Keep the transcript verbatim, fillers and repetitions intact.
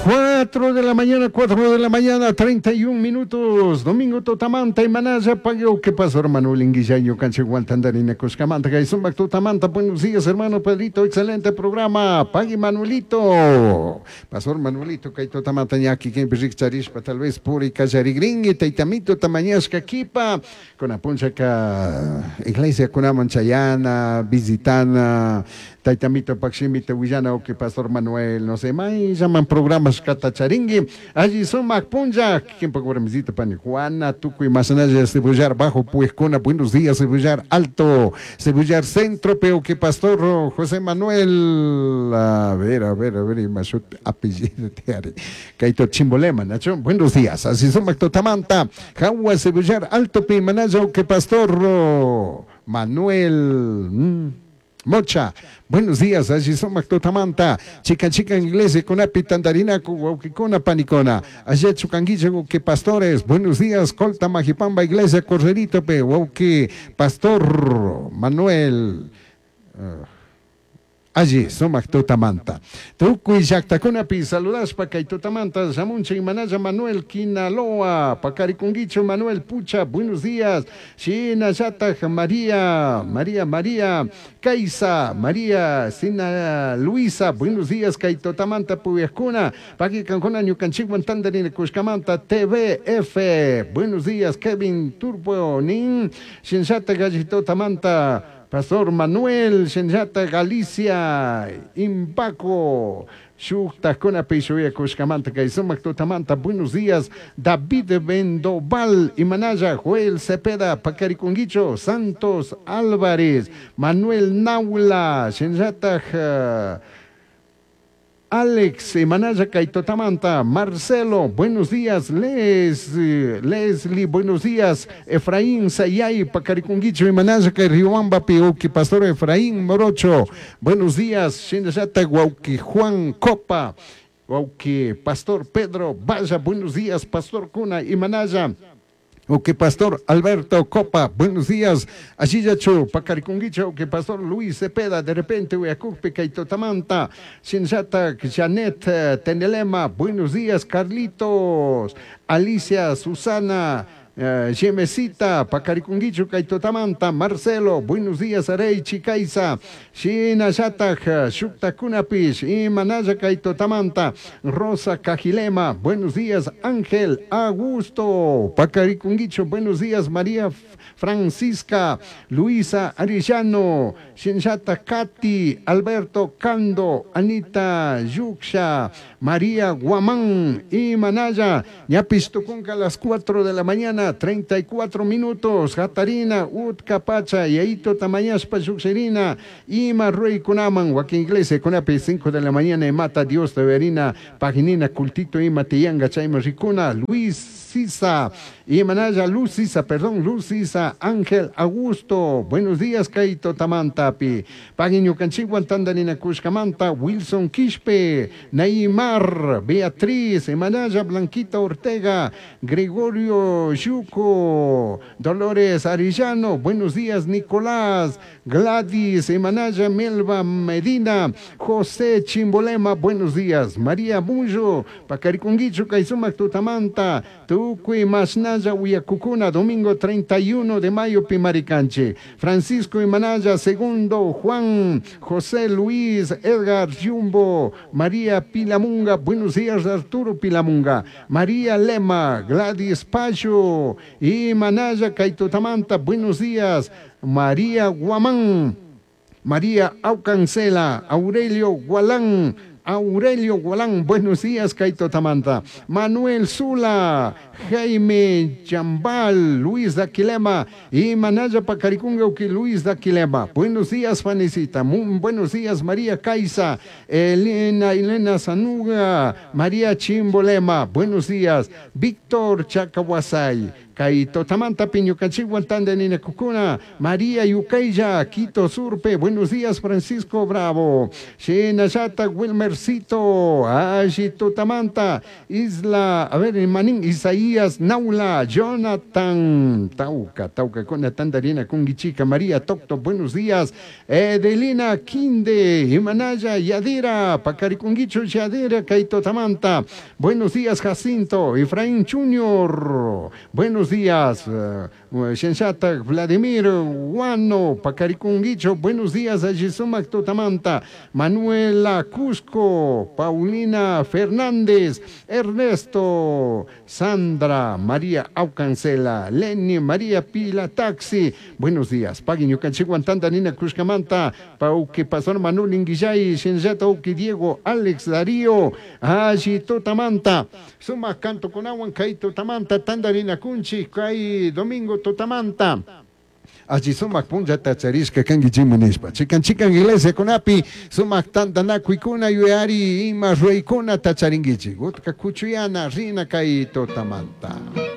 Cuatro de la mañana, cuatro de la mañana, treinta y un minutos. Domingo Totamanta y Manaya Pagueo. ¿Qué pasó, hermano? Linguillaño, Cancheguantandarina, Cuscamanta, Gaizumbac Totamanta. Buenos días, hermano Pedrito. Excelente programa. Pague Manuelito. Pastor Manuelito, Kaito Tamanta, Ñaki, Kempi, Charishpa, tal vez Puri, Cayarigringui, Taitamito, Tamañasca, Kipa. Con Apunchaca, Iglesia Kunaman Chayana, Visitana, Taitamito, Paximito, Huillana, o que Pastor Manuel, no sé, más llaman programas Catacharingui, allí sumac punja, quien poco visita pani Juana, Tucu y Masanaya, Cebollar Bajo, Puescona, buenos días, Cebollar Alto, Cebollar Centro, pero que Pastor José Manuel, a ver, a ver, a ver, y más apellido te haré, Kaito Chimbolema, Nacho, buenos días, así sumac Totamanta, Jagua, Cebollar Alto, Pimanaya, que Pastor Manuel, mmm, Mocha, buenos días, allí somos Totamanta, chica chica inglés, con api tandarina, guauquicona, panicona, allá chucanguilla, que pastores, buenos días, Colta, Majipamba, iglesia, Correrito, pe, guauqui, Pastor Manuel, uh, allí, sumac Totamanta. Tukuy llaqtakunapi saludaspa kay Totamanta, Samuncha y Manaya Manuel Quinaloa, Pacaricunguicho Manuel Pucha, buenos días. Shina Yataj María, María María, Kaisa, María, Sina Luisa, buenos días, kay Totamanta Puyascuna, Paqui Cancuna Ñucanchiguan Tandarina Cuscamanta, T V F, buenos días, Kevin Turbo Nin, Shinshata Gallito Tamanta, Pastor Manuel, Shenyata Galicia, Impaco, Shuktakuna Pishuya Cuscamanta, Kaisumac Totamanta, buenos días, David Vendoval, Imanaya, Joel Cepeda, Pacaricunguicho, Santos Álvarez, Manuel Naula, Shenyata Alex, Manaya Kaitotamanta, Marcelo, buenos días, Les, Leslie, buenos días, Efraín Sayay, Pacaricunguicho, Manaya Riobamba, Piuki, Pastor Efraín Morocho, buenos días, Shinayata, Guauqui, Juan Copa, Guauqui, Pastor Pedro Vaya, buenos días, Pastor Cuna y Manaya. Ok, Pastor Alberto Copa, buenos días. Ashiyachu, Pacaricunguicho, que Pastor Luis Cepeda, de repente, Uyacupe, Kaitotamanta, Shinshata, Janet, Tenelema, buenos días, Carlitos, Alicia, Susana, Uh, Yemesita, Pacaricunguicho, Kaitotamanta, Marcelo, buenos días, Arey, Chicaiza, Shina Yataj, Shuktakunapish, Imanaya, Kaitotamanta, Rosa Cajilema, buenos días, Ángel Augusto, Pacaricunguicho, buenos días, María Francisca, Luisa Arellano, Shinshata Katy, Alberto Cando, Anita Yuxia, María Guamán, Imanaya, Ñapistucunca a las cuatro de la mañana, treinta y cuatro minutos, Jatarina, Utcapacha, Yaito Tamañaspa, Yuxerina, Ima Rey Kunaman, Huaquín Iglesia, Kunapi, cinco de la mañana, Mata Dios de Verina, Paginina, Cultito, Ima Tiyanga, Chaima Ricuna, Luis Sisa, Imanaya, Luz Sisa, perdón, Luz Sisa, Ángel Augusto, buenos días, Kaito Tamantapi, Pagiño Canchiguan, Tandanina Cuscamanta, Wilson Quispe, Neymar, Beatriz, Imanaya, Blanquita Ortega, Gregorio Yuco, Dolores Arellano, buenos días, Nicolás, Gladys, Imanaya, Melba Medina, José Chimbolema, buenos días, María Bullo, Pacaricunguicho, Kaizumac, Tutamanta, Tucui, Masnaya, Huyacucuna, domingo treinta y uno de mayo, Pimaricanche, Francisco Imanaya, segundo, Juan, José Luis, Edgar Jumbo, María Pilamunga, buenos días, Arturo Pilamunga, María Lema, Gladys Payo, Imanaya, Kaitotamanta, buenos días, María Guamán, María Aucancela, Aurelio Gualán, Aurelio Gualán, buenos días, Kaito Tamanta, Manuel Zula, Jaime Chambal, Luis Daquilema, y Manaya Pacaricunga, Luis Daquilema, buenos días, Fanicita, muy buenos días, María Caiza, Elena, Elena Sanuga, María Chimbolema, buenos días, Víctor Chacahuasay, Kay tutamanta ñukanchikwan tandarinakukuna María Yucaylla, Quito Surpe, buenos días Francisco Bravo, Shinallata Wilmercito, alli tutamanta, Isla, a ver, Manín, Isaías Naula, Jonathan, Tauca, Tauca con tandarina kungichika, María Tocto, buenos días, Edelina Quinde, Imanaya, Yadira, Pacarikunguicho, Yadira, Kaito Tamanta, buenos días Jacinto, Efraín Junior, buenos días, uh, Shenshata, Vladimir, Guano, Pacarikunguicho, buenos días, Ayisumac Totamanta, Manuela Cusco, Paulina Fernández, Ernesto, Sandra, María Aucancela, Lenny, María Pila Taxi, buenos días, Pagui Ñukanchikwan Tandanina Cuscamanta, Pauque Pastor Manuel Inguillay, Shenshata Uki Diego, Alex Darío, Aji Totamanta, Suma Canto Kunawan, Kai Totamanta, Tandarina Kunchi, Kai Domingo Totamanta. Allí sumak punllata charishka kankichikmi nishpa chikan chikan iglesiakunapi sumak tantanakuykuna yuyari ima ruraykunata charinkichik utka kuchuyana rina kay tutamanta.